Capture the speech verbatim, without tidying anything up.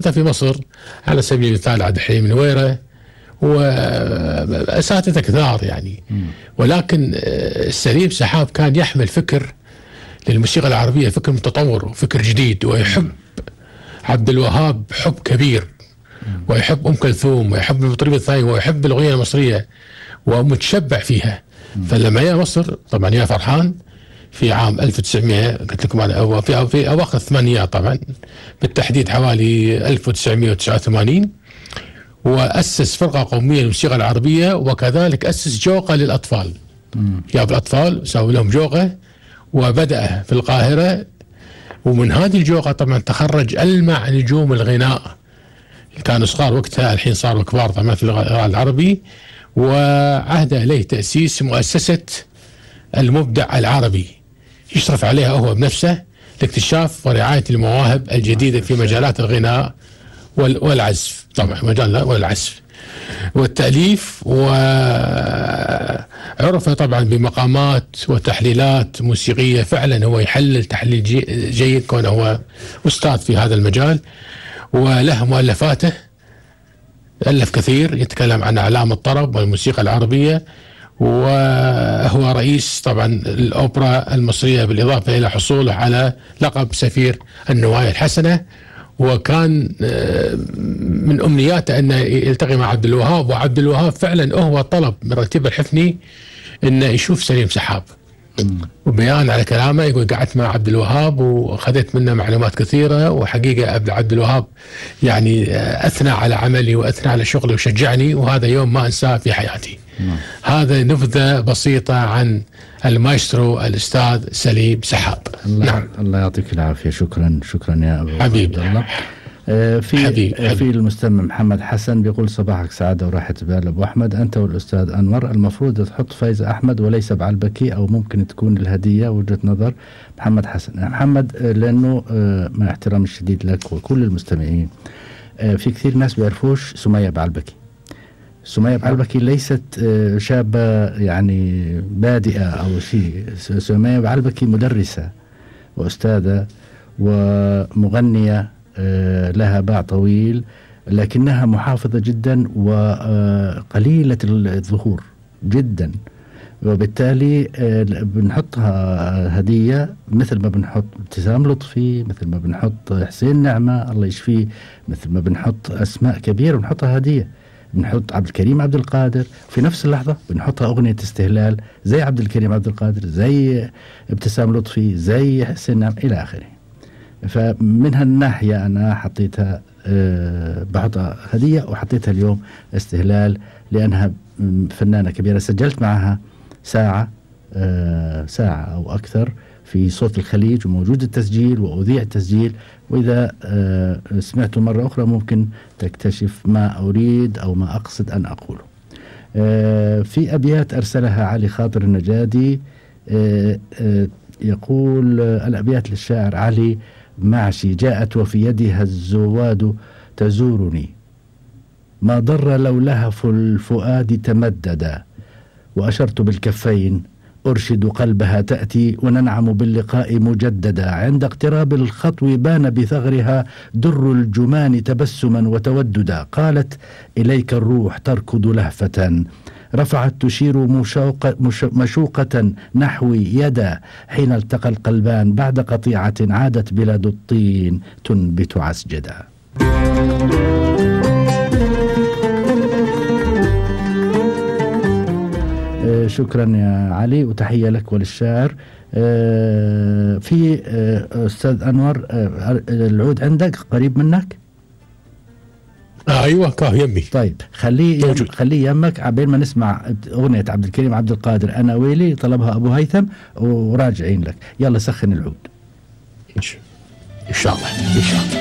في مصر على سبيل المثال عبد الحليم النويرة وأساتذة كثار يعني. ولكن سليم سحاب كان يحمل فكر للموسيقى العربية، فكر متطور وفكر جديد، ويحب عبد الوهاب حب كبير، ويحب أم كلثوم، ويحب المطربة الثانية، ويحب الأغنية المصرية ومتشبع فيها. فلما جاء مصر طبعا يا فرحان في عام ألف وتسعمائة قلت لكم أنا في في أواخر الثمانينات طبعا، بالتحديد حوالي ألف وتسعمائة وتسعة وثمانين، وأسس فرقة قومية للموسيقى العربية، وكذلك أسس جوقة للأطفال. جاب الأطفال سووا لهم جوقة وبدأ في القاهرة، ومن هذه الجوقة طبعا تخرج ألمع نجوم الغناء، كانوا صغار وقتها الحين صاروا كبار طبعا في الغناء العربي. وعهد إليه تأسيس مؤسسة المبدع العربي يشرف عليها هو بنفسه لاكتشاف ورعاية المواهب الجديدة في مجالات الغناء والعزف، طبعا مجال والعزف والتأليف، وعرف طبعا بمقامات وتحليلات موسيقية. فعلا هو يحلل تحليل جيد كونه هو أستاذ في هذا المجال، وله مؤلفاته، ألف كثير يتكلم عن أعلام الطرب والموسيقى العربية، وهو رئيس طبعا الأوبرا المصرية، بالإضافة إلى حصوله على لقب سفير النوايا الحسنة. وكان من أمنياته أنه يلتقي مع عبد الوهاب، وعبد الوهاب فعلا هو طلب من رتيب الحفني أنه يشوف سليم سحاب. وبيان على كلامه يقول قعدت مع عبد الوهاب وأخذت منه معلومات كثيرة، وحقيقة عبد الوهاب يعني أثنى على عملي وأثنى على شغلي وشجعني، وهذا يوم ما أنساه في حياتي. مم. هذا نبذة بسيطة عن المايسترو الأستاذ سليم سحاب. الله, نعم. الله يعطيك العافية. شكرا شكرا يا أبو حبيب الله. آه في حبيب. آه في المستمع محمد حسن بيقول صباحك سعادة وراحة بال أبو أحمد، أنت والأستاذ أنور المفروض تحط فايزة أحمد وليس بعلبكي، أو ممكن تكون الهدية وجهة نظر محمد حسن. محمد آه لأنه آه مع احترام الشديد لك وكل المستمعين، آه في كثير ناس بيعرفوش سمية بعلبكي. سمية بعلبكي ليست شابة يعني بادئة أو شيء. سمية بعلبكي مدرسة وأستاذة ومغنية لها باع طويل، لكنها محافظة جدا وقليلة الظهور جدا، وبالتالي بنحطها هدية مثل ما بنحط ابتسام لطفي، مثل ما بنحط حسين نعمة الله يشفيه، مثل ما بنحط أسماء كبيرة بنحطها هدية. بنحط عبد الكريم عبد القادر في نفس اللحظة بنحطها أغنية استهلال زي عبد الكريم عبد القادر، زي ابتسام لطفي، زي حسين نعم إلى آخره. فمن هالناحية أنا حطيتها أه بحطها هدية، وحطيتها اليوم استهلال لأنها فنانة كبيرة. سجلت معها ساعة أه ساعة أو أكثر في صوت الخليج، وموجود التسجيل وأذيع التسجيل، وإذا أه سمعته مرة أخرى ممكن تكتشف ما أريد أو ما أقصد أن أقوله. أه في أبيات أرسلها علي خاطر النجادي، أه أه يقول أه الأبيات للشاعر علي معشي: جاءت وفي يدها الزواد تزورني، ما ضر لو لهف الفؤاد تمددا، وأشرت بالكفين أرشد قلبها تأتي، وننعم باللقاء مجددا، عند اقتراب الخطو بان بثغرها در الجمان تبسما وتوددا، قالت إليك الروح تركض لهفة، رفعت تشير مشوقة, مشوقة نحوي يدا، حين التقى القلبان بعد قطيعة عادت بلاد الطين تنبت عسجدا. شكرا يا علي، وتحية لك وللشاعر. في أستاذ أنور العود عندك قريب منك؟ آه أيوة كاه يمي. طيب خليه يم خليه يمك عبين ما نسمع أغنية عبد الكريم عبد القادر أنا ويلي، طلبها أبو هيثم، وراجعين لك. يلا سخن العود إن شاء الله إن شاء الله.